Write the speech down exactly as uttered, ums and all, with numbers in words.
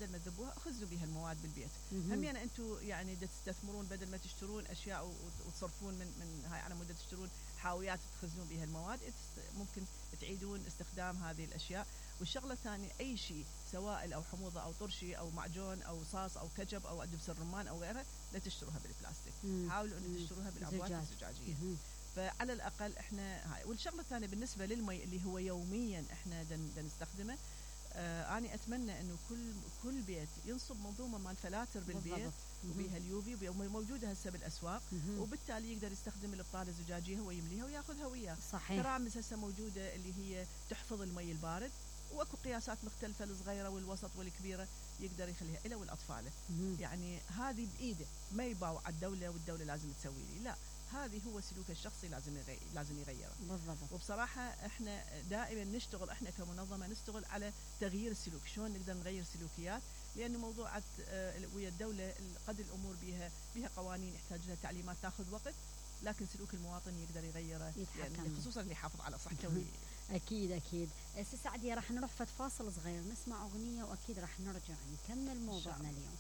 بدل ما تذبوها خزوا بها المواد بالبيت. هم يعني انتم يعني تستثمرون بدل ما تشترون اشياء وتصرفون من من هاي على مود تشترون حاويات تخزنون بها المواد، ممكن تعيدون استخدام هذه الاشياء. والشغله الثانيه اي شيء سوائل او حموضه او طرشي او معجون او صاص او كجب او دبس الرمان او غيرها لا تشتروها بالبلاستيك. مم. حاولوا ان تشتروها بالعبوات الزجاجيه. فعلى الاقل احنا هاي. والشغله الثانيه بالنسبه للمي اللي هو يوميا احنا دن نستخدمه، آه أنا أتمنى إنه كل كل بيت ينصب منظومة مال فلاتر بالبيت وبيها اليوفي موجودة هسه بالأسواق، وبالتالي يقدر يستخدم البطالة الزجاجية هو يمليها وياخذها وياه. صحيح. ترامس هسه موجودة اللي هي تحفظ المي البارد، واكو قياسات مختلفة الصغيرة والوسط والكبيرة يقدر يخليها إله والأطفال. يعني هذه بإيده، ما يباوع على الدولة والدولة لازم تسوي لي، لا، هذه هو سلوك الشخصي لازم يغير لازم يغيره. بالضبط. وبصراحة احنا دائما نشتغل احنا كمنظمة نشتغل على تغيير السلوك، شلون نقدر نغير سلوكيات، لأنه موضوعات اه ويا الدولة قد الأمور بها بها قوانين يحتاج لها تعليمات تاخذ وقت، لكن سلوك المواطن يقدر يغيره يعني خصوصا اللي يحافظ على صحته. أكيد أكيد. سي سعدية راح نروح فت فاصل صغير نسمع أغنية وأكيد راح نرجع نكمل موضوعنا اليوم.